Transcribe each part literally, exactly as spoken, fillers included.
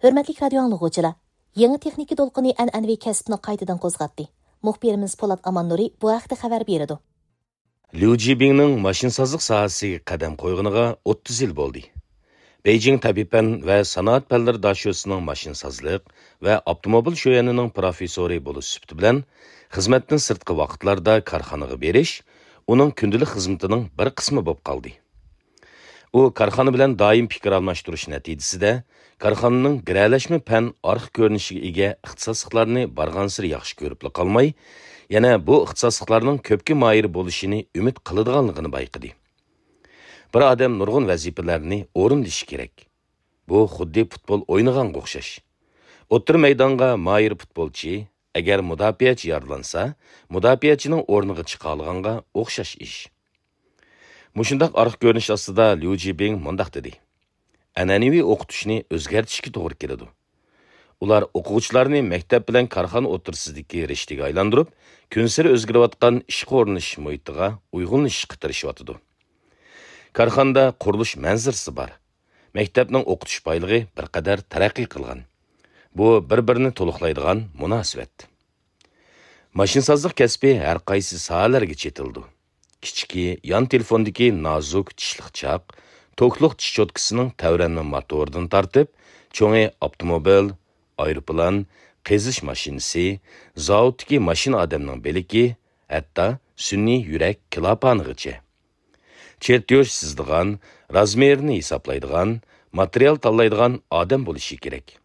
ھۆرمەتلىك رادىيو ئاڭلىغۇچىلار، يېڭى تېخنىكا دولقۇنى ئەنئەنىۋى كەسىپنى قايتىدىن قوزغاتتى. مۇخبىرىمىز پولات ئاماننۇرى بۇ ھەقتە خەۋەر بېرىدۇ. ليۇ جىبىڭنىڭ ماشىنىسازلىق ساھەسىگە قەدەم قويغىنىغا ئوتتۇز يىل بولدى. بېيجىڭ تەبىئىي پەن ۋە سانائەت پەنلىرى داشۆسىنىڭ ماشىنىسازلىق ۋە ئاپتوموبىل شۆيەنىنىڭ پروفېسسورى بولۇش سۈپىتى بىلەن، خىزمەتتىن سىرتقى ۋاقىتلاردا كارخانىغا بېرىش ئۇنىڭ كۈندىلىك خىزمىتىنىڭ بىر قىسمى بولۇپ قالدى. ئۇ كارخانا بىلەن دائىم پىكىر ئالماشتۇرۇش نەتىجىسىدە، كارخانىنىڭ گىرەلەشمە پەن ئارقا كۆرۈنۈشىگە ئىگە ئىختىساسلىقلارنى بارغانسېرى ياخشى كۆرۈپلا قالماي، يەنە بۇ ئىختىساسلىقلارنىڭ كۆپكە ماھىر بولۇشىنى ئۈمىد قىلىدىغانلىقىنى بايقىدى. بىر ئادەم نۇرغۇن ۋەزىپىلەرنى ئورۇندىشى كېرەك. بۇ خۇددى پۇتبول ئوينىغانغا ئوخشاش. ئوتتۇرا مەيدانغا ماھىر پۇتبولچى، ئەگەر مۇداپىئەچى يارىلانسا، مۇداپىئەچىنىڭ ئورنىغا چىقالىغانغا ئوخشاش ئىش. مۇشۇنداق ئارقا كۆرۈنۈش ئاستىدا ليۇ جىبىڭ مۇنداق دېدى: ئەنئەنىۋى ئوقۇتۇشنى ئۆزگەرتىشكە توغرا كېلىدۇ. ئۇلار ئوقۇغۇچىلارنى مەكتەپ بىلەن كارخانا ئوتتۇرىسىدىكى رىشتىگە ئايلاندۇرۇپ، كۈنسېرى ئۆزگىرىۋاتقان ئىشقا ئورۇنلىشىش مۇھىتىغا ئۇيغۇنلىشىشقا تىرىشىۋاتىدۇ. كارخانىدا قۇرۇلۇش مەنزىرىسى بار. مەكتەپنىڭ ئوقۇتۇش بايلىقى بىر قەدەر تەرەققىي قىلغان. بۇ بىر-بىرىنى تولۇقلايدىغان مۇناسىۋەت. ماشىنىسازلىق كەسپى ھەر قايسى ساھەلەرگە چېتىلىدۇ. كىچىكى يان تېلېفوندىكى نازۇك چىشلىق چاق، توكلۇق چىشوتكىسىنىڭ تەۋرەنمە موتورىدىن تارتىپ، چوڭى ئاپتوموبىل، ئايروپىلان، قېزىش ماشىنىسى، زاۋۇتتىكى ماشىنا ئادەمنىڭ بىلىكى، ھەتتا سۈنئىي يۈرەك كىلاپانىغىچە. چېرتيوژ سىزىدىغان، رازمېرىنى ھېسابلايدىغان، ماتېرىيال تاللايدىغان ئادەم بولۇشى كېرەك.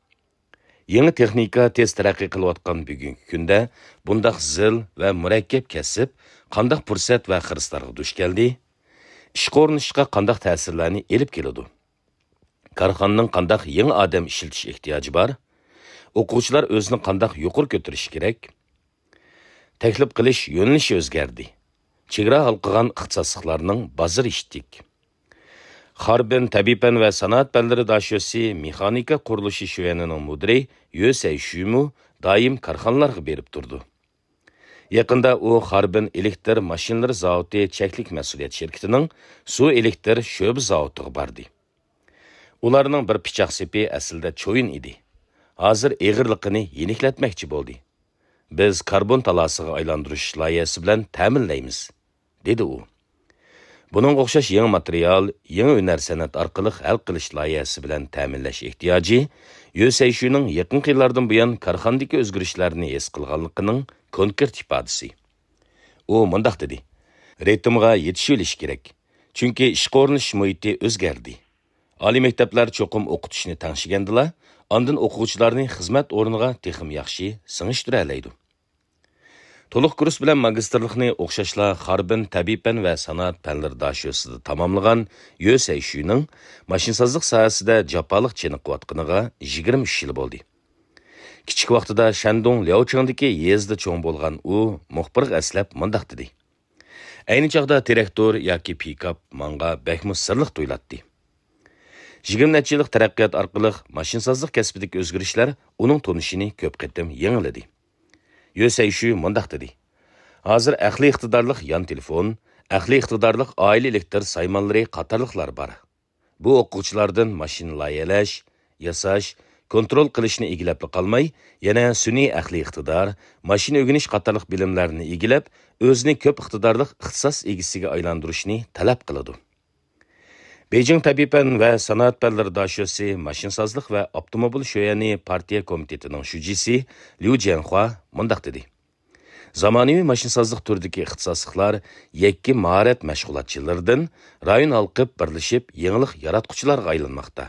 يېڭى تېخنىكا تېز تەرەققىي قىلىۋاتقان بۈگۈنكى كۈندە بۇنداق زىل ۋە مۇرەككەپ كەسىپ قانداق پۇرسەت ۋە خىرىسلارغا دۇچ كەلدى؟ ئىشقا ئورۇنلىشىشقا قانداق تەسىرلەرنى ئېلىپ كېلىدۇ؟ كارخانىنىڭ قانداق يېڭى ئادەم ئىشلىتىش ئېھتىياجى بار؟ ئوقۇغۇچىلار ئۆزىنى قانداق يۇقىرى كۆتۈرۈشى كېرەك؟ تەكلىپ قىلىش يۆنىلىشى ئۆزگەردى. چېگرا ھالقىغان ئىختىساسلىقلارنىڭ بازىرى ئىتتىك. خاربىن تەبىئىي پەن ۋە سانائەت پەنلىرى داشۆسى مېخانىكا قۇرۇلۇشى شۆيەنىنىڭ مۇدىرى يۆ سەيشۈمۇ دائىم كارخانىلارغا بېرىپ تۇرىدۇ. يېقىندا ئۇ خاربىن ئېلېكتر ماشىنىلىرى زاۋۇتى چەكلىك مەسئۇلىيەت شىركىتىنىڭ سۇ ئېلېكتر شۆبە زاۋۇتىغا باردى. ئۇلارنىڭ بىر پىچاق سېپى ئەسلىدە چويۇن ئىدى. ھازىر ئېغىرلىقىنى يېنىكلەتمەكچى بولدى. بىز كاربون تالاسىغا ئايلاندۇرۇش لايىھەسى بىلەن تەمىنلەيمىز، دېدى ئۇ. بۇنىڭغا ئوخشاش يېڭى ماتېرىيال، يېڭى ھۈنەر سەنئەت ئارقىلىق ھەل قىلىش لايىھەسى بىلەن تەمىنلەش ئېھتىياجى يۆ سەيشۈنىڭ يېقىنقى يىللاردىن بۇيان كارخانىدىكى ئۆزگىرىشلەرنى ھېس قىلغانلىقىنىڭ كونكرېت ئىپادىسى. ئۇ مۇنداق دېدى: رىتىمغا يېتىشىۋېلىش كېرەك، چۈنكى ئىشقا ئورۇنلىشىش مۇھىتى ئۆزگەردى. ئالىي مەكتەپلەر چوقۇم ئوقۇتۇشنى تەڭشىگەندىلا، ئاندىن ئوقۇغۇچىلارنى خىزمەت ئورنىغا تېخىمۇ ياخشى سىڭىشتۈرەلەيدۇ. تولۇق كۇرس بىلەن ماگىستىرلىقنى ئوخشاشلا خاربىن تەبىئىي پەن ۋە سانائەت پەنلىرى داشۆسىدا تاماملىغان يۆ سەيشۈنىڭ ماشىنىسازلىق ساھەسىدە جاپالىق چېنىقىۋاتقىنىغا يىگىرمە ئۈچ يىل بولدى. كىچىك ۋاقتىدا شەندۇڭ لياۋچىڭدىكى يېزىدا چوڭ بولغان ئۇ مۇخبىرغا ئەسلەپ مۇنداق دېدى: ئەينى چاغدا تىراكتور ياكى پىكاپ ماڭا بەكمۇ سىرلىق تۇيۇلاتتى. يىگىرمە نەچچە يىللىق تەرەققىيات ئارقىلىق ماشىنىسازلىق كەسپىدىكى ئۆزگىرىشلەر ئۇنىڭ تونۇشىنى كۆپ قېتىم يېڭىلىدى. يۆ سەيشۈ مۇنداق دېدى: ھازىر ئەقلىي ئىقتىدارلىق يان تېلېفون، ئەقلىي ئىقتىدارلىق ئائىلە ئېلېكتىر سايمانلىرى قاتارلىقلار بار. بۇ ئوقۇغۇچىلاردىن ماشىنا لايىھەلەش، ياساش، كونترول قىلىشنى ئىگىلەپلا قالماي، يەنە سۈنئىي ئەقلىي ئىقتىدار، ماشىنا ئۆگىنىش قاتارلىق بىلىملەرنى ئىگىلەپ، ئۆزىنى كۆپ ئىقتىدارلىق ئىختىساس ئىگىسىگە ئايلاندۇرۇشنى تەلەپ قىلىدۇ. بېيجىڭ تەبىئىي پەن ۋە سانائەت پەنلىرى داشۆسى ماشىنىسازلىق ۋە ئاپتوموبىل شۆيەنى پارتىيە كومىتېتىنىڭ شۇجىسى ليۇ جيەنخۇا مۇنداق دېدى: زامانىۋى ماشىنىسازلىق تۈرىدىكى ئىختىساسلىقلار يەككە ماھارەت مەشغۇلاتچىلىرىدىن رايون ھالقىپ بىرلىشىپ يېڭىلىق ياراتقۇچىلارغا ئايلانماقتا.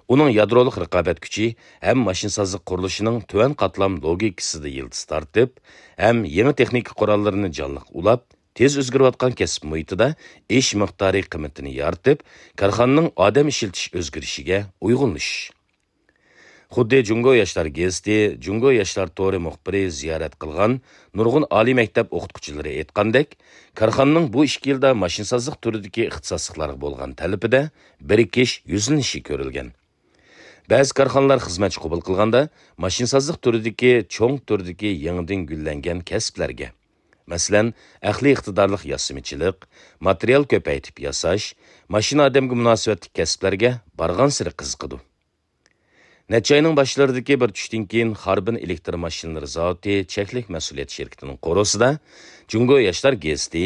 ئۇنىڭ يادرولۇق رىقابەت كۈچى ھەم ماشىنىسازلىق قۇرۇلۇشىنىڭ تۆۋەن قاتلام لوگىكىسىدا يىلتىز تارتىپ، ھەم يېڭى تېخنىكا قوراللىرىنى جانلىق ئۇلاپ، تېز ئۆزگىرىۋاتقان كەسىپ مۇھىتىدا ئىش مىقدارى قىممىتىنى يارىتىپ، كارخانىنىڭ ئادەم ئىشلىتىش ئۆزگىرىشىگە ئۇيغۇنلىشىش. خۇددى جۇڭگو ياشلار گېزىتى، جۇڭگو ياشلار تورى مۇخبىرى زىيارەت قىلغان نۇرغۇن ئالىي مەكتەپ ئوقۇتقۇچىلىرى ئېيتقاندەك، كارخانىنىڭ بۇ ئىككى يىلدا ماشىنىسازلىق تۈرىدىكى ئىختىساسلىقلارغا بولغان تەلىپىدە بىرىكىش، يۈزلىنىشى كۆرۈلگەن. بەزى كارخانىلار خىزمەتچى قوبۇل قىلغاندا، ماشىنىسازلىق تۈرىدىكى چوڭ تۈردىكى يېڭىدىن گۈللەنگەن كەسىپلەرگە، مەسىلەن، ئەقلىي ئىقتىدارلىق ياسىمىچىلىق، ماتېرىيال كۆپەيتىپ ياساش، ماشىنا ئادەمگە مۇناسىۋەتلىك كەسىپلەرگە بارغانسېرى قىزىقىدۇ. نەچچە ئاينىڭ باشلىرىدىكى بىر چۈشتىن كېيىن خاربىن ئېلېكتر ماشىنىلىرى زاۋۇتى چەكلىك مەسئۇلىيەت شىركىتىنىڭ قورۇسىدا جۇڭگو ياشلار گېزىتى،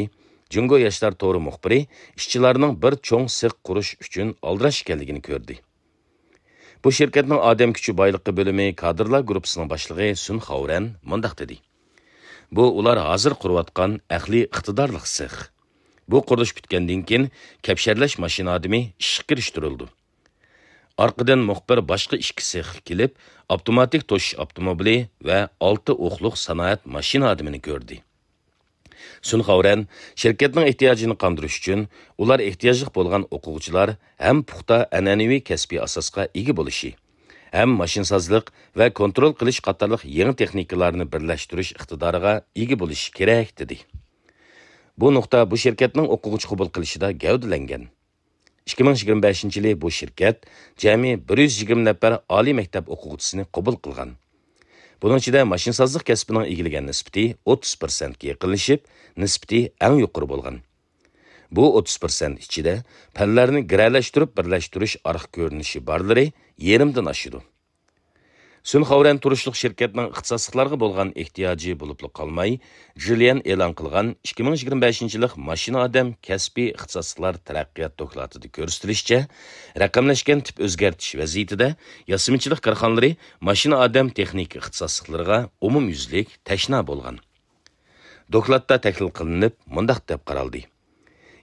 جۇڭگو ياشلار تورى مۇخبىرى ئىشچىلارنىڭ بىر چوڭ سېخ قۇرۇش ئۈچۈن ئالدىراش ئىكەنلىكىنى كۆردى. بۇ شىركەتنىڭ ئادەم كۈچى بايلىقى بۆلۈمى كادىرلار گۇرۇپپىسىنىڭ باشلىقى سۈن خاۋرەن مۇنداق دېدى: بۇ ئۇلار ھازىر قۇرۇۋاتقان ئەقلىي ئىقتىدارلىق سېخ. بۇ قۇرۇلۇش پۈتكەندىن كېيىن كەپشەرلەش ماشىنا ئادىمى ئىشقا كىرىشتۈرۈلىدۇ. ئارقىدىن مۇخبىر باشقا ئىككى سېخقا كېلىپ، ئاپتوماتىك توشۇش ئاپتوموبىلى ۋە ئالتە ئوقلۇق سانائەت ماشىنا ئادىمىنى كۆردى. سۈن خاۋرەن شىركەتنىڭ ئېھتىياجىنى قاندۇرۇش ئۈچۈن ئۇلار ئېھتىياجلىق بولغان ئوقۇغۇچىلار ھەم پۇختا ئەنئەنىۋى كەسپىي ئاساسقا ئىگە بولۇشى، ھەم ماشىنىسازلىق ۋە كونترول قىلىش قاتارلىق يېڭى تېخنىكىلارنى بىرلەشتۈرۈش ئىقتىدارىغا ئىگە بولۇشى كېرەك، دېدى. بۇ نۇقتا بۇ شىركەتنىڭ ئوقۇغۇچى قوبۇل قىلىشىدا گەۋدىلەنگەن. ئىككى مىڭ يىگىرمە بەشىنچى يىلى بۇ شىركەت جەمئىي بىر يۈز يىگىرمە نەپەر ئالىي مەكتەپ ئوقۇغۇچىسىنى قوبۇل قىلغان. بۇنىڭ ئىچىدە ماشىنىسازلىق كەسپىنىڭ ئىگىلىگەن نىسبىتى ئوتتۇز پىرسەنتكە يېقىنلىشىپ، نىسبىتى ئەڭ يۇقىرى بولغان. بۇ ئوتتۇز پىرسەنت ئىچىدە پەنلەرنى گىرەلەشتۈرۈپ بىرلەشتۈرۈش ئارقا كۆرۈنۈشى بارلىرى يېرىمدىن ئاشىدۇ. سۈن خاۋرەن تۇرۇشلۇق شىركەتنىڭ ئىختىساسلىقلارغا بولغان ئېھتىياجى بولۇپلا قالماي، جۈليەن ئېلان قىلغان ئىككى مىڭ يىگىرمە بەشىنچى يىللىق ماشىنا ئادەم كەسپىي ئىختىساسلىقلار تەرەققىيات دوكلاتىدا كۆرسىتىلىشىچە، رەقەملەشكەن تىپ ئۆزگەرتىش ۋەزىيىتىدە ياسىمىچىلىق كارخانىلىرى ماشىنا ئادەم تېخنىكا ئىختىساسلىقلىرىغا ئومۇميۈزلۈك تەشنا بولغان. دوكلاتتا تەھلىل قىلىنىپ، مۇنداق دەپ قارالدى: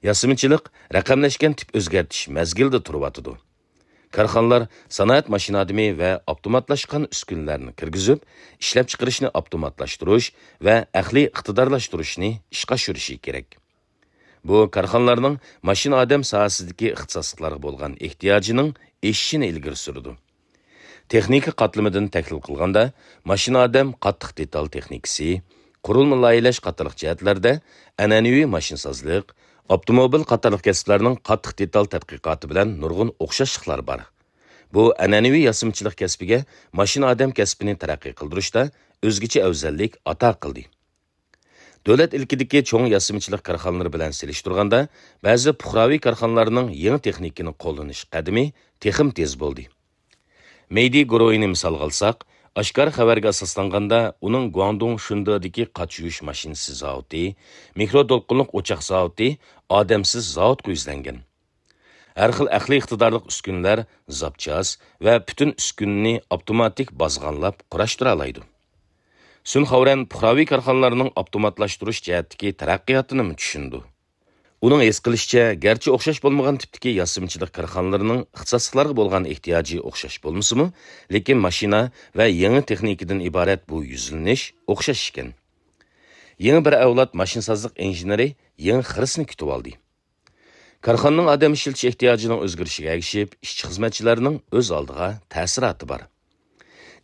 ياسىمىچىلىق رەقەملەشكەن تىپ ئۆزگەرتىش مەزگىلىدە تۇرۇۋاتىدۇ. كارخانىلار سانائەت ماشىنا ئادىمى ۋە ئاپتوماتلاشقان ئۈسكۈنىلەرنى كىرگۈزۈپ، ئىشلەپچىقىرىشنى ئاپتوماتلاشتۇرۇش ۋە ئەقلىي ئىقتىدارلاشتۇرۇشنى ئىشقا ئاشۇرۇشى كېرەك. بۇ كارخانىلارنىڭ ماشىنا ئادەم ساھەسىدىكى ئىختىساسلىقلارغا بولغان ئېھتىياجىنىڭ ئېشىشىنى ئىلگىرى سۈرىدۇ. تېخنىكا قاتلىمىدىن تەھلىل قىلغاندا، ماشىنا ئادەم قاتتىق دېتال تېخنىكىسى، قۇرۇلما لايىھەلەش قاتارلىق جەھەتلەردە ئەنئەنىۋى ماشىنىسازلىق، ئاپتوموبىل قاتارلىق كەسىپلەرنىڭ قاتتىق دېتال تەتقىقاتى بىلەن نۇرغۇن ئوخشاشلىقلار بار. بۇ ئەنئەنىۋى ياسىمىچىلىق كەسپىگە ماشىنا ئادەم كەسپىنى تەرەققىي قىلدۇرۇشتا ئۆزگىچە ئەۋزەللىك ئاتا قىلدى. دۆلەت ئىلكىدىكى چوڭ ياسىمىچىلىق كارخانىلىرى بىلەن سېلىشتۇرغاندا، بەزى پۇقراۋى كارخانىلارنىڭ يېڭى تېخنىكىنى قوللىنىش قەدىمى تېخىمۇ تېز بولدى. مېيدى گۇرۇھىنى مىسالغا ئالساق، ئاشكارا خەۋەرگە ئاساسلانغاندا، ئۇنىڭ گۇاڭدۇڭ شۇندېدىكى قاچا يۇيۇش ماشىنىسى زاۋۇتى، مىكرو دولقۇنلۇق ئوچاق زاۋۇتى ئادەمسىز زاۋۇتقا يۈزلەنگەن. ھەر خىل ئەقلىي ئىقتىدارلىق ئۈسكۈنىلەر، زاپچاس ۋە پۈتۈن ئۈسكۈنىنى ئاپتوماتىك بازغانلاپ قۇراشتۇرالايدۇ. سۈن خاۋرەن پۇقراۋى كارخانىلارنىڭ ئاپتوماتلاشتۇرۇش جەھەتتىكى تەرەققىياتىنىمۇ چۈشىنىدۇ. ئۇنىڭ ھېس قىلىشىچە، گەرچە ئوخشاش بولمىغان تىپتىكى ياسىمىچىلىق كارخانىلىرىنىڭ ئىختىساسلىقلارغا بولغان ئېھتىياجى ئوخشاش بولمىسىمۇ، لېكىن ماشىنا ۋە يېڭى تېخنىكىدىن ئىبارەت بۇ يۈزلىنىش ئوخشاش ئىكەن. يېڭى بىر ئەۋلاد ماشىنىسازلىق ئىنژېنېرى يېڭى خىرىسنى كۈتۈۋالدى. كارخانىنىڭ ئادەم ئىشلىتىش ئېھتىياجىنىڭ ئۆزگىرىشىگە ئەگىشىپ، ئىشچى-خىزمەتچىلەرنىڭ ئۆز ئالدىغا تەسىراتى بار.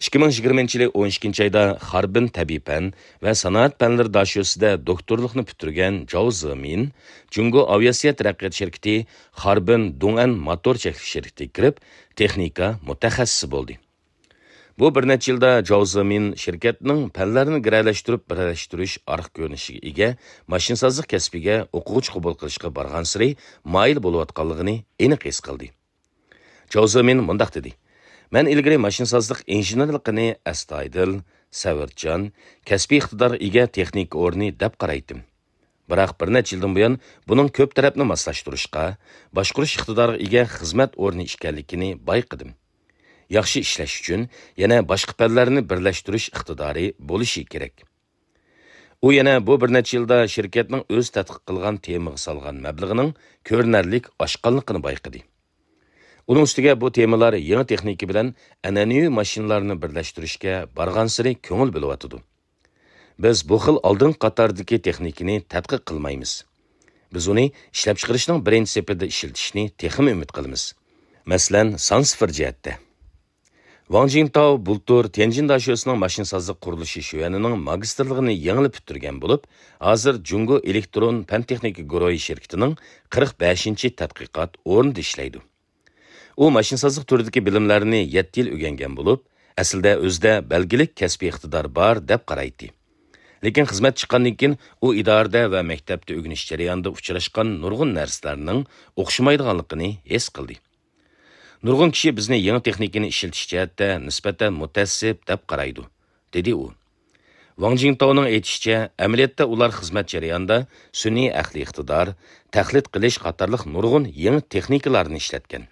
ئىككى مىڭ يىگىرمىنچى يىلى ئون ئىككىنچى ئايدا خاربىن تەبىئىي پەن ۋە سانائەت پەنلىرى داشۆسىدە دوكتورلۇقنى پۈتتۈرگەن جاۋ زېمىن جۇڭگو ئاۋىئاتسىيە تەرەققىيات شىركىتى خاربىن دۇڭئەن موتور چەكلىك شىركىتىگە كىرىپ، تېخنىكا مۇتەخەسسىسى بولدى. بۇ بىر نەچچە يىلدا جاۋ زېمىن شىركەتنىڭ پەنلەرنى گىرەلەشتۈرۈپ بىرلەشتۈرۈش ئارقا كۆرۈنۈشىگە ئىگە ماشىنىسازلىق كەسپىگە ئوقۇغۇچى قوبۇل قىلىشقا بارغانسېرى مايىل بولۇۋاتقانلىقىنى ئېنىق ھېس قىلدى. جاۋ زېمىن مۇنداق دېدى: مەن ئىلگىرى ماشىنىسازلىق ئىنژېنېرلىقىنى ئەستايىدىل، سەۋرچان، كەسپىي ئىقتىدارغا ئىگە تېخنىكا ئورنى دەپ قارايتتىم. بىراق بىر نەچچە يىلدىن بۇيان بۇنىڭ كۆپ تەرەپنى ماسلاشتۇرۇشقا، باشقۇرۇش ئىقتىدارىغا ئىگە خىزمەت ئورنى ئىكەنلىكىنى بايقىدىم. ياخشى ئىشلەش ئۈچۈن يەنە باشقا پەنلەرنى بىرلەشتۈرۈش ئىقتىدارى بولۇشى كېرەك. ئۇ يەنە بۇ بىر نەچچە يىلدا شىركەتنىڭ ئۆز تەتقىق قىلغان تېمىغا سالغان مەبلىغىنىڭ كۆرۈنەرلىك ئاشقانلىقىنى بايقىدى. ئۇنىڭ ئۈستىگە بۇ تېمىلار يېڭى تېخنىكا بىلەن ئەنئەنىۋى ماشىنىلارنى بىرلەشتۈرۈشكە بارغانسېرى كۆڭۈل بۆلۈۋاتىدۇ. بىز بۇ خىل ئالدىنقى قاتاردىكى تېخنىكىنى تەتقىق قىلمايمىز. بىز ئۇنى ئىشلەپچىقىرىشنىڭ بىرىنچى سېپىدە ئىشلىتىشنى تېخىمۇ ئۈمىد قىلىمىز. مەسىلەن، سان سىفىر جەھەتتە. ۋاڭ جىنتاۋ بۇلتۇر تيەنجىن داشۆسىنىڭ ماشىنىسازلىق قۇرۇلۇشى شۆۋەنىنىڭ ماگىستىرلىقىنى يېڭىلا پۈتتۈرگەن بولۇپ، ھازىر جۇڭگو ئېلېكترون پەن تېخنىكا گۇرۇھى شىركىتىنىڭ قىرىق بەشىنچى تەتقىقات ئورنىدا ئىشلەيدۇ. ئۇ ماشىنىسازلىق تۈرىدىكى بىلىملەرنى يەتتە يىل ئۆگەنگەن بولۇپ، ئەسلىدە ئۆزىدە بەلگىلىك كەسپىي ئىقتىدار بار دەپ قارايتتى. لېكىن خىزمەت چىققاندىن كېيىن ئۇ ئىدارىدە ۋە مەكتەپتە ئۆگىنىش جەريانىدا ئۇچراشقان نۇرغۇن نەرسىلەرنىڭ ئوخشىمايدىغانلىقىنى ھېس قىلدى. نۇرغۇن كىشى بىزنى يېڭى تېخنىكىنى ئىشلىتىش جەھەتتە نىسبەتەن مۇتەئەسسىپ دەپ قارايدۇ، دېدى ئۇ. ۋاڭ جىڭتاۋنىڭ ئېيتىشىچە، ئەمەلىيەتتە ئۇلار خىزمەت جەريانىدا سۈنئىي ئەقلىي ئىقتىدار، تەقلىد قىلىش قاتارلىق نۇرغۇن يېڭى تېخنىكىلارنى ئىشلەتكەن.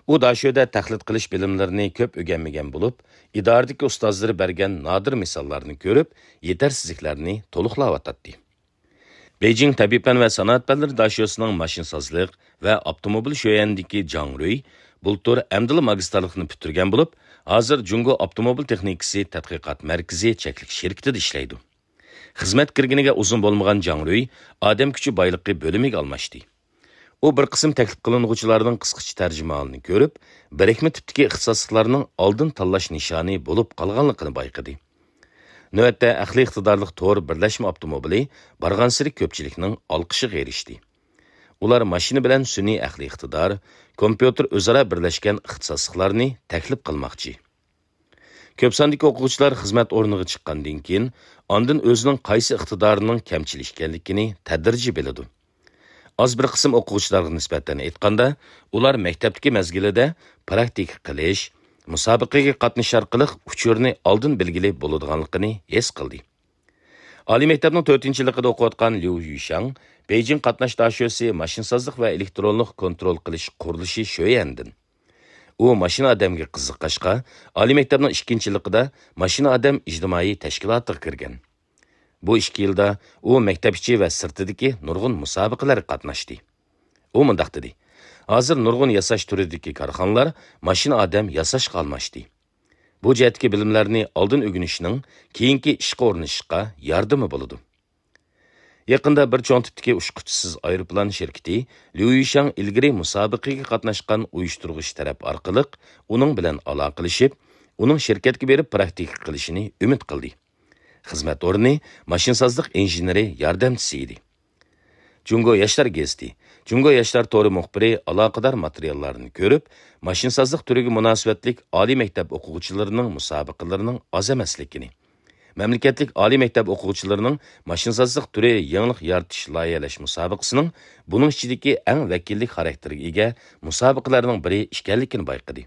ئۇ داشۆدە تەقلىد قىلىش بىلىملىرىنى كۆپ ئۆگەنمىگەن بولۇپ، ئىدارىدىكى ئۇستازلىرى بەرگەن نادىر مىساللارنى كۆرۈپ، يېتەرسىزلىكلەرنى تولۇقلاۋاتاتتى. بېيجىڭ تەبىئىي پەن ۋە سانائەت پەنلىرى داشۆسىنىڭ ماشىنىسازلىق ۋە ئاپتوموبىل شۆيەنىدىكى جاڭ رۈي بۇلتۇر ئەمدىلا ماگىستىرلىقنى پۈتتۈرگەن بولۇپ، ھازىر جۇڭگو ئاپتوموبىل تېخنىكىسى تەتقىقات مەركىزى چەكلىك شىركىتىدە ئىشلەيدۇ. خىزمەت كىرگىنىگە ئۇزۇن بولمىغان جاڭ رۈي ئادەم كۈچى بايلىقى بۆلۈمىگە ئالماشتى. ئۇ بىر قىسىم تەكلىپ قىلىنغۇچىلارنىڭ قىسقىچە تەرجىمىھالىنى كۆرۈپ، بىرىكمە تىپتىكى ئىختىساسلىقلارنىڭ ئالدىن تاللاش نىشانى بولۇپ قالغانلىقىنى بايقىدى. نۆۋەتتە ئەقلىي ئىقتىدارلىق تور بىرلەشمە ئاپتوموبىلى بارغانسېرى كۆپچىلىكنىڭ ئالقىشىغا ئېرىشتى. ئۇلار ماشىنا بىلەن سۈنئىي ئەقلىي ئىقتىدار، كومپيۇتېر ئۆزئارا بىرلەشكەن ئىختىساسلىقلارنى تەكلىپ قىلماقچى. كۆپ ساندىكى ئوقۇغۇچىلار خىزمەت ئورنىغا چىققاندىن كېيىن، ئاندىن ئۆزىنىڭ قايسى ئىقتىدارىنىڭ كەمچىل ئىكەنلىكىنى تەدرىجىي بىلىدۇ. ئاز بىر قىسىم ئوقۇغۇچىلارغا نىسبەتەن ئېيتقاندا، ئۇلار مەكتەپتىكى مەزگىلىدە پراكتىكا قىلىش، مۇسابىقىگە قاتنىشىش ئارقىلىق ئۇچۇرنى ئالدىن بىلگىلى بولىدىغانلىقىنى ھېس قىلدى. ئالىي مەكتەپنىڭ تۆتىنچى يىللىقىدا ئوقۇۋاتقان ليۇ يۈشاڭ بېيجىڭ قاتناش داشۆسى ماشىنىسازلىق ۋە ئېلېكترونلۇق كونترول قىلىش قۇرۇلۇشى شۆيەندىن. ئۇ ماشىنا ئادەمگە قىزىققاچقا، ئالىي مەكتەپنىڭ ئىككىنچى يىللىقىدا ماشىنا ئادەم ئىجتىمائىي تەشكىلاتىغا كىرگەن. بۇ ئىككى يىلدا ئۇ مەكتەپ ئىچى ۋە سىرتىدىكى نۇرغۇن مۇسابىقىلەرگە قاتناشتى. ئۇ مۇنداق دېدى: «ھازىر نۇرغۇن ياساش تۈرىدىكى كارخانىلار ماشىنا ئادەم ياساشقا ئالماشتى. بۇ جەھەتتىكى بىلىملەرنى ئالدىن ئۆگىنىشنىڭ كېيىنكى ئىشقا ئورۇنلىشىشقا ياردىمى بولىدۇ.» يېقىندا بىر چوڭ تىپتىكى ئۇچقۇچىسىز ئايروپىلان شىركىتى ليۇ يۈشاڭ ئىلگىرى مۇسابىقىگە قاتناشقان ئۇيۇشتۇرغۇچى تەرەپ ئارقىلىق ئۇنىڭ بىلەن ئالاقىلىشىپ، ئۇنىڭ شىركەتكە بېرىپ پراكتىكا قىلىشىنى ئۈمىد قىلدى. خىزمەت ئورنى ماشىنىسازلىق ئىنژېنېرى ياردەمچىسى ئىدى. جۇڭگو ياشلار گېزىتى، جۇڭگو ياشلار تورى مۇخبىرى ئالاقىدار ماتېرىياللارنى كۆرۈپ، ماشىنىسازلىق تۈرىگە مۇناسىۋەتلىك ئالىي مەكتەپ ئوقۇغۇچىلىرىنىڭ مۇسابىقىلىرىنىڭ ئاز ئەمەسلىكىنى، مەملىكەتلىك ئالىي مەكتەپ ئوقۇغۇچىلىرىنىڭ ماشىنىسازلىق تۈرى يېڭىلىق يارىتىش لايىھەلەش مۇسابىقىسىنىڭ بۇنىڭ ئىچىدىكى ئەڭ ۋەكىللىك خاراكتېرگە ئىگە مۇسابىقىلەرنىڭ بىرى ئىكەنلىكىنى بايقىدى.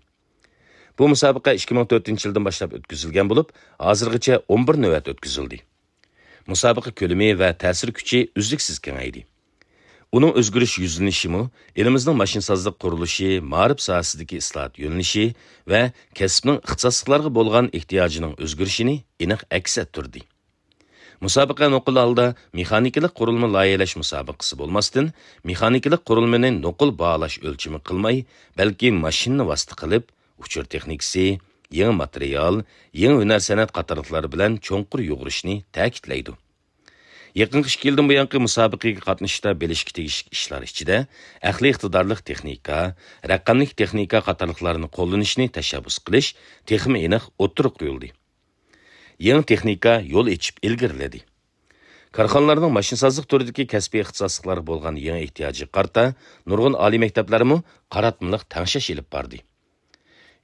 بۇ مۇسابىقە ئىككى مىڭ تۆتىنچى يىلدىن باشلاپ ئۆتكۈزۈلگەن بولۇپ، ھازىرغىچە ئون بىر نۆۋەت ئۆتكۈزۈلدى. مۇسابىقە كۆلىمى ۋە تەسىر كۈچى ئۈزلۈكسىز كېڭەيدى. ئۇنىڭ ئۆزگىرىش يۈزلىنىشىمۇ ئېلىمىزنىڭ ماشىنىسازلىق قۇرۇلۇشى، مائارىپ ساھەسىدىكى ئىسلاھات يۆنىلىشى ۋە كەسىپنىڭ ئىختىساسلىقلارغا بولغان ئېھتىياجىنىڭ ئۆزگىرىشىنى ئېنىق ئەكس ئەتتۈردى. مۇسابىقە نوقۇل ھالدا مېخانىكىلىق قۇرۇلما لايىھەلەش مۇسابىقىسى بولماستىن، مېخانىكىلىق قۇرۇلمىنى نوقۇل باھالاش ئۆلچىمى قىلماي، بەلكى ماشىنىنى ۋاسىتە قىلىپ، ئۇچۇر تېخنىكىسى، يېڭى ماتېرىيال، يېڭى ھۈنەر سەنئەت قاتارلىقلار بىلەن چوڭقۇر يۇغۇرۇشنى تەكىتلەيدۇ. يېقىنقى ئىككى يىلدىن بۇيانقى مۇسابىقىگە قاتنىشىشتا بىلىشكە تېگىشلىك ئىشلار ئىچىدە ئەقلىي ئىقتىدارلىق تېخنىكا، رەقەملىك تېخنىكا قاتارلىقلارنى قوللىنىشنى تەشەببۇس قىلىش تېخىمۇ ئېنىق ئوتتۇرىغا قويۇلدى. يېڭى تېخنىكا يول ئېچىپ ئىلگىرىلىدى. كارخانىلارنىڭ ماشىنىسازلىق تۈرىدىكى كەسپىي ئىختىساسلىقلارغا بولغان يېڭى ئېھتىياجىغا قارىتا نۇرغۇن ئالىي مەكتەپلەرمۇ قاراتمىلىق تەڭشەش ئېلىپ باردى.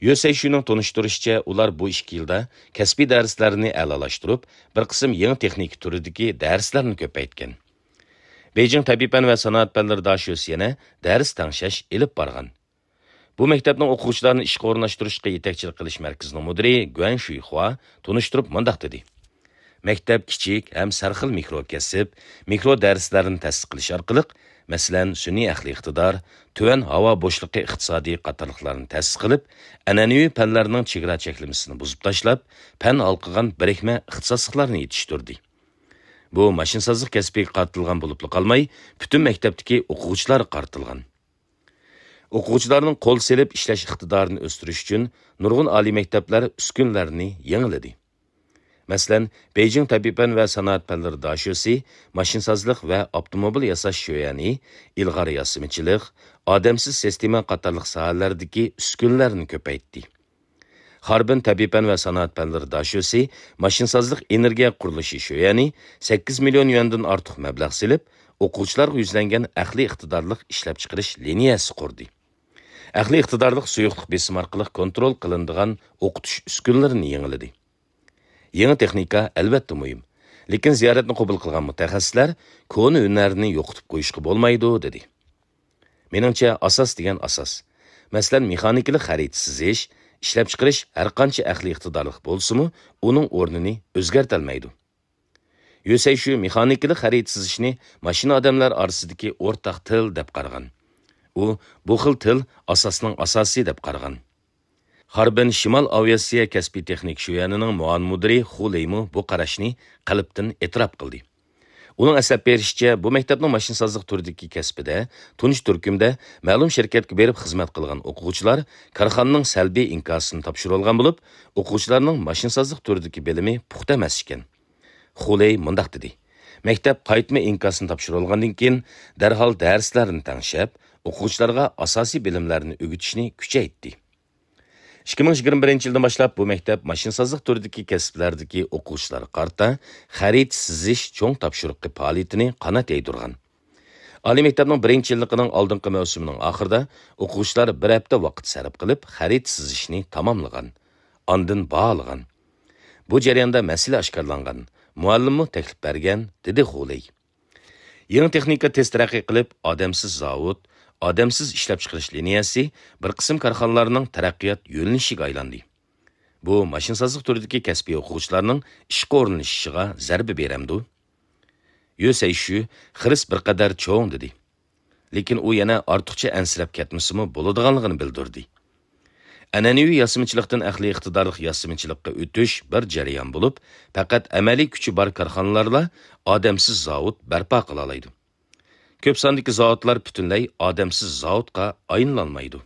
يۆ سەيشۈنىڭ تونۇشتۇرۇشىچە، ئۇلار بۇ ئىككى يىلدا كەسپىي دەرسلەرنى ئەلالاشتۇرۇپ، بىر قىسىم يېڭى تېخنىكا تۈرىدىكى دەرسلەرنى كۆپەيتكەن. بېيجىڭ تەبىئىي پەن ۋە سانائەت پەنلىرى داشۆسى يەنە دەرس تەڭشەش ئېلىپ بارغان. بۇ مەكتەپنىڭ ئوقۇغۇچىلارنى ئىشقا ئورۇنلاشتۇرۇشقا يېتەكچىلىك قىلىش مەركىزىنىڭ مۇدىرى گۇەن شۈيخۇا تونۇشتۇرۇپ مۇنداق دېدى: مەكتەپ كىچىك ھەم سەرخىل مىكرو كەسىپ، مىكرو دەرسلەرنى تەسىس قىلىش ئارقىلىق، مەسىلەن، سۈنئىي ئەقلىي ئىقتىدار، تۆۋەن ھاۋا بوشلۇقى ئىقتىسادى قاتارلىقلارنى تەسىس قىلىپ، ئەنئەنىۋى پەنلەرنىڭ چېگرا چەكلىمىسىنى بۇزۇپ تاشلاپ، پەن ھالقىغان بىرىكمە ئىختىساسلىقلارنى يېتىشتۈردى. بۇ ماشىنىسازلىق كەسپىگە قارىتىلغان بولۇپلا قالماي، پۈتۈن مەكتەپتىكى ئوقۇغۇچىلارغا قارىتىلغان. ئوقۇغۇچىلارنىڭ قول سېلىپ ئىشلەش ئىقتىدارىنى ئۆستۈرۈش ئۈچۈن نۇرغۇن ئالىي مەكتەپلەر ئۈسكۈنىلەرنى يېڭىلىدى. مەسىلەن، بېيجىڭ تەبىئىي پەن ۋە سانائەت پەنلىرى داشۆسى ماشىنىسازلىق ۋە ئاپتوموبىل ياساش شۆيەنى، ئىلغار ياسىمىچىلىق، ئادەمسىز سىستېما قاتارلىق ساھەلەردىكى ئۈسكۈنىلەرنى كۆپەيتتى. خاربىن تەبىئىي پەن ۋە سانائەت پەنلىرى داشۆسى ماشىنىسازلىق ئېنېرگىيە قۇرۇلۇشى شۆيەنى سەككىز مىليون يۈەندىن ئارتۇق مەبلەغ سېلىپ، ئوقۇغۇچىلارغا يۈزلەنگەن ئەقلىي ئىقتىدارلىق ئىشلەپچىقىرىش لىنىيەسى قۇردى. ئەقلىي ئىقتىدارلىق سۇيۇقلۇق بېسىمى ئارقىلىق كونترول قىلىنىدىغان ئوقۇتۇش ئۈسكۈنىلىرىنى يېڭىلىدى. يېڭى تېخنىكا ئەلۋەتتە مۇھىم، لېكىن زىيارەتنى قوبۇل قىلغان مۇتەخەسسىسلەر كونا ھۈنەرنى يوقىتىپ قويۇشقا بولمايدۇ، دېدى. مېنىڭچە، ئاساس دېگەن ئاساس. مەسىلەن، مېخانىكىلىق خەرىتە سىزىش، ئىشلەپچىقىرىش ھەرقانچە ئەقلىي ئىقتىدارلىق بولسىمۇ، ئۇنىڭ ئورنىنى ئۆزگەرتەلمەيدۇ. يۆسەيشۈ مېخانىكىلىق خەرىتە سىزىشنى ماشىنا ئادەملەر ئارىسىدىكى ئورتاق تىل دەپ قارىغان. ئۇ بۇ خىل تىل ئاساسنىڭ ئاساسى دەپ قارىغان. خاربىن شىمال ئاۋىئاتسىيە كەسپىي تېخنىك شۆيەنىنىڭ مۇئاۋىن مۇدىرى خۇ لېيمۇ بۇ قاراشنى قەلبتىن ئېتىراپ قىلدى. ئۇنىڭ ئەسلەپ بېرىشىچە، بۇ مەكتەپنىڭ ماشىنىسازلىق تۈرىدىكى كەسپىدە تۇنجى تۈركۈمدە مەلۇم شىركەتكە بېرىپ خىزمەت قىلغان ئوقۇغۇچىلار كارخانىنىڭ سەلبىي ئىنكاسىنى تاپشۇرۇۋالغان بولۇپ، ئوقۇغۇچىلارنىڭ ماشىنىسازلىق تۈرىدىكى بىلىمى پۇختا ئەمەس ئىكەن. خۇلېي مۇنداق دېدى: «مەكتەپ قايتما ئىنكاسىنى تاپشۇرۇۋالغاندىن كېيىن، دەرھال دەرسلەرنى تەڭشەپ، ئوقۇغۇچىلارغا ئاساسىي بىلىملەرنى ئۆگىتىشنى كۈچەيتتى.» ئىككى مىڭ يىگىرمە بىرىنچى يىلدىن باشلاپ بۇ مەكتەپ ماشىنىسازلىق تۈرىدىكى كەسىپلەردىكى ئوقۇغۇچىلارغا قارىتا خەرىتە سىزىش چوڭ تاپشۇرۇقى پائالىيىتىنى قانات يايدۇرغان. ئالىي مەكتەپنىڭ بىرىنچى يىللىقىنىڭ ئالدىنقى مەۋسۇمىنىڭ ئاخىرىدا ئوقۇغۇچىلار بىر ھەپتە ۋاقىت سەرپ قىلىپ خەرىتە سىزىشنى تاماملىغان. ئاندىن باھالىغان. بۇ جەرياندا مەسىلە ئاشكارىلانغان. مۇئەللىممۇ تەكلىپ بەرگەن، دېدى خۇلېي. يېڭى تېخنىكا تېز تەرەققىي قىلىپ، ئادەمسىز زاۋۇت، ئادەمسىز ئىشلەپچىقىرىش لىنىيەسى بىر قىسىم كارخانىلارنىڭ تەرەققىيات يۆنىلىشىگە ئايلاندى. بۇ ماشىنىسازلىق تۈرىدىكى كەسپىي ئوقۇغۇچىلارنىڭ ئىشقا ئورۇنلىشىشىغا زەربە بېرەمدۇ؟ يۆ سەيشۈ خىرىس بىر قەدەر چوڭ دېدى. لېكىن ئۇ يەنە ئارتۇقچە ئەنسىرەپ كەتمىسىمۇ بولىدىغانلىقىنى بىلدۈردى. ئەنئەنىۋى ياسىمىچىلىقتىن ئەقلىي ئىقتىدارلىق ياسىمىچىلىققا ئۆتۈش بىر جەريان بولۇپ، پەقەت ئەمەلىي كۈچى بار كارخانىلارلا ئادەمسىز زاۋۇت بەرپا قىلالايدۇ. كۆپ ساندىكى زاۋۇتلار پۈتۈنلەي ئادەمسىز زاۋۇتقا ئايلىنالمايدۇ.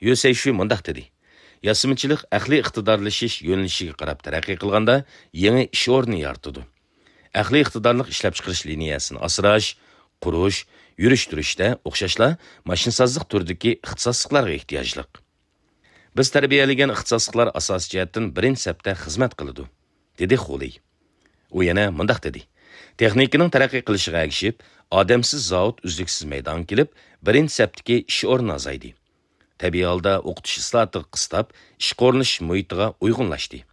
يۆ سەيشۈ مۇنداق دېدى: «ياسىمىچىلىق ئەقلىي ئىقتىدارلىشىش يۆنىلىشىگە قاراپ تەرەققىي قىلغاندا، يېڭى ئىش ئورنى يارىتىدۇ. ئەقلىي ئىقتىدارلىق ئىشلەپچىقىرىش لىنىيەسىنى ئاسراش، قۇرۇش، يۈرۈشتۈرۈشتە ئوخشاشلا ماشىنىسازلىق تۈرىدىكى ئىختىساسلىقلارغا ئېھتىياجلىق. بىز تەربىيەلىگەن ئىختىساسلىقلار ئاساسىي جەھەتتىن بىرىنچى سەپتە خىزمەت قىلىدۇ.» دېدى خۇلېي. ئۇ يەنە مۇنداق دېدى: «تېخنىكىنىڭ تەرەققىي قىلىشىغا ئەگىشىپ، ئادەمسىز زاۋۇت ئۈزلۈكسىز مەيدانغا كېلىپ، بىرىنچى سەپتىكى ئىش ئورنى ئازايدى. تەبىئىي ھالدا ئوقۇتۇش ئىسلاھاتىغا قىستاپ، ئىشقا ئورۇنلىشىش مۇھىتىغا ئۇيغۇنلاشتى.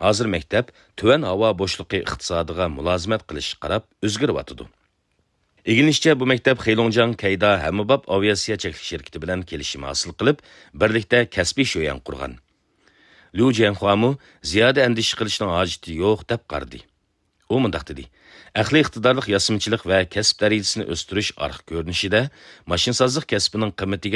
ھازىر مەكتەپ تۆۋەن ھاۋا بوشلۇقى ئىقتىسادىغا مۇلازىمەت قىلىشقا قاراپ ئۆزگىرىۋاتىدۇ.» ئىگىلىنىشىچە، بۇ مەكتەپ خېلۇڭجياڭ كەيدا ھەممىباب ئاۋىئاتسىيە چەكلىك شىركىتى بىلەن كېلىشىم ھاسىل قىلىپ، بىرلىكتە كەسپىي شۆيەن قۇرغان. ليۇ جيەنخۇامۇ زىيادە ئەندىشە قىلىشنىڭ ھاجىتى يوق، دەپ قارىدى. ئۇ مۇنداق دېدى: «ئەقلىي ئىقتىدارلىق ياسىمىچىلىق ۋە كەسىپ دەرىجىسىنى ئۆستۈرۈش ئارقا كۆرۈنۈشىدە ماشىنىسازلىق كەسپىنىڭ قىممىتىگە